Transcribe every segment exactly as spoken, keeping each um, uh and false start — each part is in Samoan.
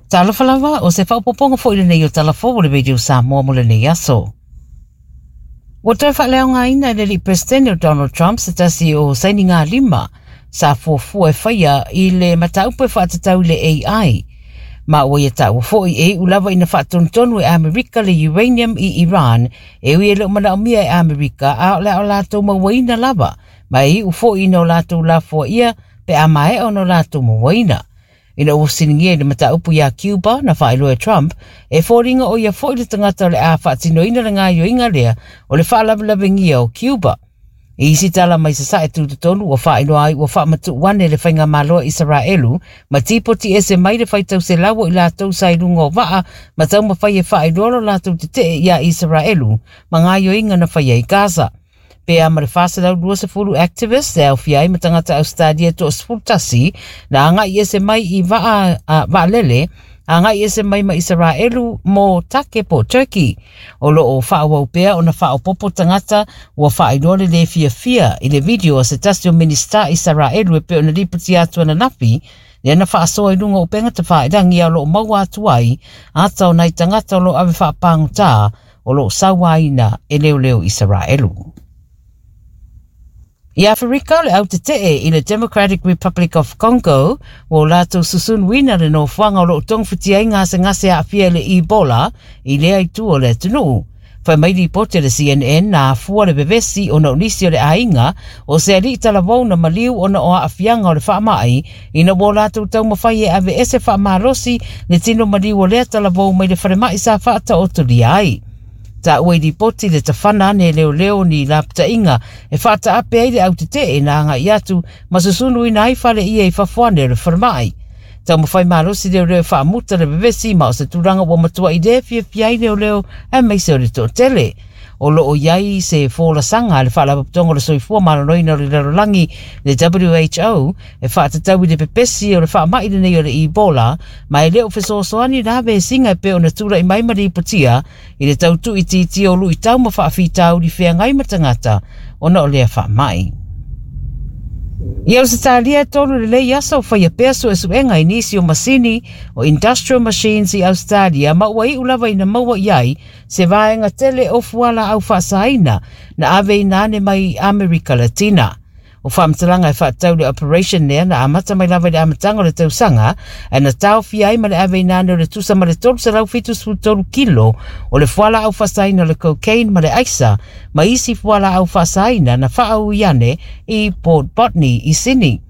Talofa lava, o se faaopoopoga foi lenei o Tala Fou o le Radio Samoa mo lenei aso. Ua toe faaleaogaina e le alii Peresetene o Donald Trump se tasi o sainigalima sa fuafua e faia i le mataupu e faatatau i le A I. Ma ua ia taua foi e iu lava ina faatonutonu e Amerika le uranium i Iran, e ui e le o manaomia e Amerika, a o le a o latou mauaina lava, ma e iu foi ina o latou lafoaia pe a maea ona o latou mauaina. Ina ua fesiligia i le mataupu ia Cuba, na faailoa e Trump, e foliga o ia foi le tagata o le a faatinoina le gaioiga lea o le faalavelavegia o Cuba. I isi tala mai sasae tutotonu, ua faailoa ai ua faamatuu ane le faigamalo a Isaraelu ma tipoti ese mai le faitau selau o i latou sa i luga o vaa ma taumafai e faailoa lo latou tetee ia Isaraelu ma gaioiga na faia i Gaza. Pe a ma le four hundred twenty activists e aofia ai ma tagata Australia toasefulutasi na agai ese mai i vaa uh, vaalele agai ese mai ma Isaraelu mo Take po Turkey. O lo o faaauau pea ona faaopoopo tagata ua faailoa le le fiafia i le video a se tasi o Minista Isaraelu e pei ona lipoti atu ananafi lea na faasoa i luga o upega tafailagi, a o lo o maua atu ai ata o nai tagata o lo o ave faapagotā o lo o sauaina e leoleo Isaraelu. I Aferika, le autetee i le Democratic Republic of Congo ua latou susunuina le nofoaga o lo o togafitia ai gasegase aafia i le Ebola i lea itu o le atunuu. Fai mai lipoti a le C N N na afua le vevesi ona o nisi o le aiga o se alii talavou na maliu ona o aafiaga o le faamai ina ua latou taumafai e ave ese faamalosi le tino maliu o lea talavou mai le falemai sa faataotolia ai. Taua i lipoti le tafana ane e leoleo ni lapataiga e faataape ai le autetee na agai atu ma susunuina ai fale ia i fafo ane o le falemai. Taumafai malosi leoleo e faamuta le vevesi, ma o se tulaga ua matuai le fiafia ai leoleo aemaise o le toatele. O lo o iai se folasaga a le Faalapotopotoga o le Soifua Maloloina o le Lalolagi, le W H O, e faatatau i le pepesi o le faamai lenei o le Ebola, ma e le o fesoasoani la vesiga e pei ona tulai mai ma lipotia i le tautuuitiitia o luitau ma faafitauli feagai ma tagata ona o lea faamai. I Ausetalia, e tolu lelei aso o faia pea suesuega i nisi o masini o industrial machines i Australia, ma ua iu lava ina maua i ai se vaega tele o fualaau faasaina na ave ina ane mai Amerika Latina. O faamatalaga e faatatau le operation lea na amata mai lava i le amataga o le tausaga, ae na taofia ai ma le ave ina ane o le tusa ma le tolu selau fitusefulu tolu kilo o le fualaau faasaina o le cocaine ma le aisa ma isi fualaau faasaina na faaui ane i Port Botany i Sydney.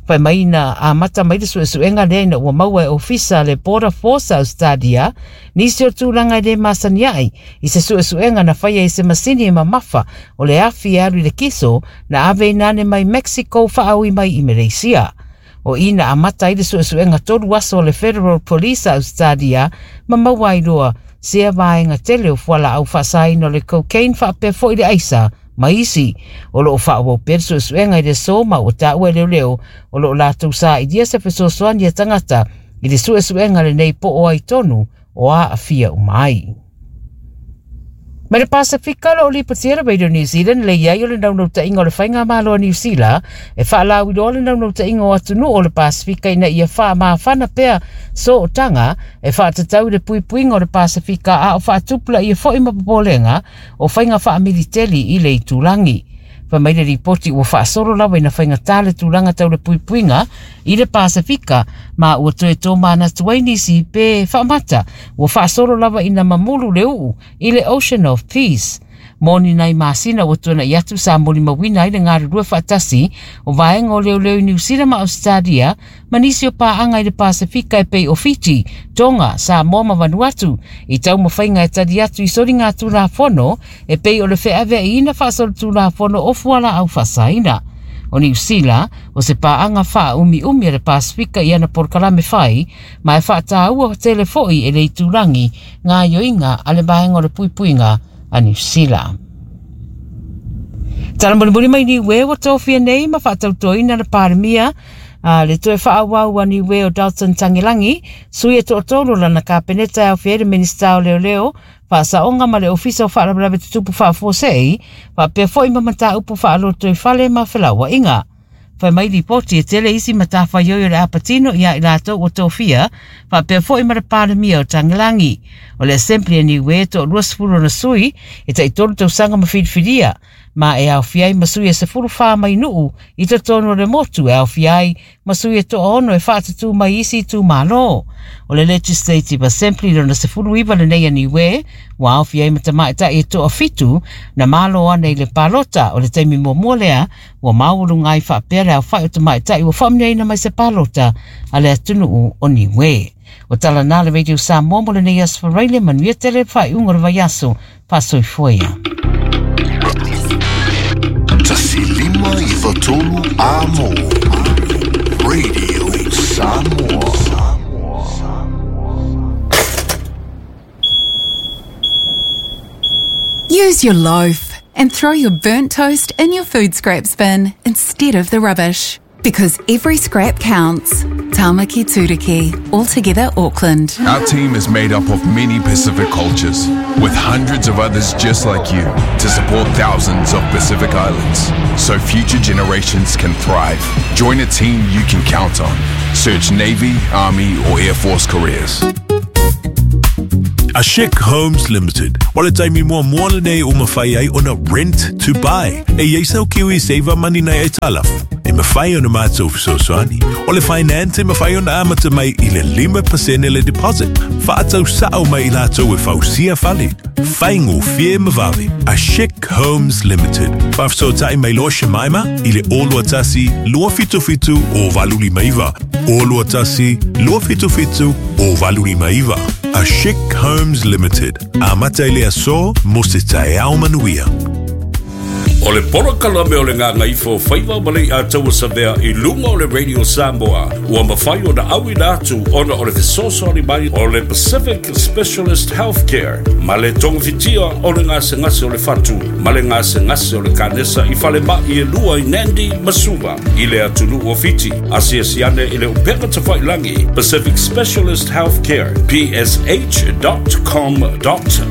Fai mai na amata mai le suesuega lea ina ua maua e ofisa le Border Force Australia nisi o tulaga e le masani ai i se suesuega na faia i se masini e mamafa o le afi e alu i le kiso na ave ina ane mai Mexico faaui mai i Malaysia. O ina amata ai le suesuega tolu aso o le Federal Police Australia ma maua ai loa sea vaega tele o fualaau faasaina o le cocaine faapea foi le aisa ma isi. O lo o faaauau pea le suesuega i le aso, ma ua taua e leoleo o lo o latou sailia se fesoasoani a tagata i le suesuega lenei po o ai tonu o aafia uma ai. Mai le Pasifika, lo o lipotia le Radio New Zealand le iai o le naunautaiga o le faigamalo a Niu Sila e faalauiloa le naunautaiga o atunuu o le Pasifika ina ia faamafana pea sootaga e faatatau i le puipuiga o le Pasifika, a o faatupulaia foi ma popolega o faiga faamiliteli i le itulagi. Fai mai le lipoti ua faasolo lava ina faigatā le tulaga tau le puipuiga i le Pasifika, ma ua toe tomanatu ai nisi pe faamata ua faasolo lava ina mamulu le uu i le Ocean of Peace. Mo ni nai masina ua tuana'i atu sa molimauina ai le galulue faatasi o vaega o leoleo i Niu Sila ma Australia ma nisi o paaga i le Pasifika e pei o Fiti, Tonga, Samoa ma Vanuatu i taumafaiga e tali atu i soligatulafono e pei o le feaveaiina faasolitulafono o fualaau faasaina. O Niu Sila o se paaga faaumiumi a le Pasifika i ana polokalame fai, ma e faataua tele foi e le itulagi gaioiga a le vaega o le puipuiga a Niu Sila. Tala mulimuli mai Niue, ua tofia nei ma faatautoina le Palemia a le toe faaauau a Niue o Dalton Tagelagi, sui e toatolu lana kapeneta e aofia ai le Minista o Leoleo, Faasaoga ma le Ofisa o Faalavelave Tutupu Faafuasei, faapea foi ma Mataupu Faalotoifale ma Felauaiga. Fai mai ripoti e tele isi matafaioi o le apatino ia i latou ua tofia, faapea foi ma le Palemia o Tagilangi. O le Assembly a Niue to luasefulu ona sui e taitolu tausaga ma filifilia, ma e aofia ai ma sui e sefulu fa mai nuu i totonu o le motu e aofia ai ma sui e toaono e faatutū mai isi itumalo. O le Legislative Assembly lona sefulu iva lenei a Niue, ua aofia ai ma tamaitai e toafitu na malo ana i le palota. O le taimi muamua lea ua maualuga ai faapea le aofai o tamaitai ua faamanuiaina mai se palota a le atunuu o Niue. O tala na le Radio Samoa mo lenei aso Faraile, manuia tele faaiuga o le vaiaso. Faasoifua ia. Tasi lima iva tolu Amo. Radio Samoa. Use your loaf and throw your burnt toast in your food scraps bin instead of the rubbish. Because every scrap counts. Tamaki Turuki, all together Auckland. Our team is made up of many Pacific cultures, with hundreds of others just like you, to support thousands of Pacific Islands, so future generations can thrive. Join a team you can count on. Search Navy, Army or Air Force careers. Ashik Homes Limited. O le taimi muamua lenei o mawhai ai ona rent to buy. E iai sau kiwi saver money nei e talaf. E mawhai ona mātou fesoasoani. O le finance e mawhai ona amata mai i le lima pasene le deposit. Whaatau sao mai i lātou e fausia fale. Whaingo fie mawave. Ashik Homes Limited. Whaafasotai mai loa shemaima i le olua tasi lua fitu fitu o valuli maiva. Olua tasi lua fitu fitu o valuli maiva. Ashik Homes Limited. Amata i le aso mo se taeao manuia. O le polokalame o le ngāngaifo faiva ma le ataua savea i lunga o le Radio Samoa. Ua mawhai o na au ina atu ona o le fesoasoani mai o le Pacific Specialist Healthcare. Ma le tongafitia o le gasegase o le fatu, ma le gasegase o le kanesa i falemai e lua i Nandi ma Suva. I le atunuu o Fiti, asiasi ane i le upega tafailangi Pacific Specialist Healthcare, P S H dot com dot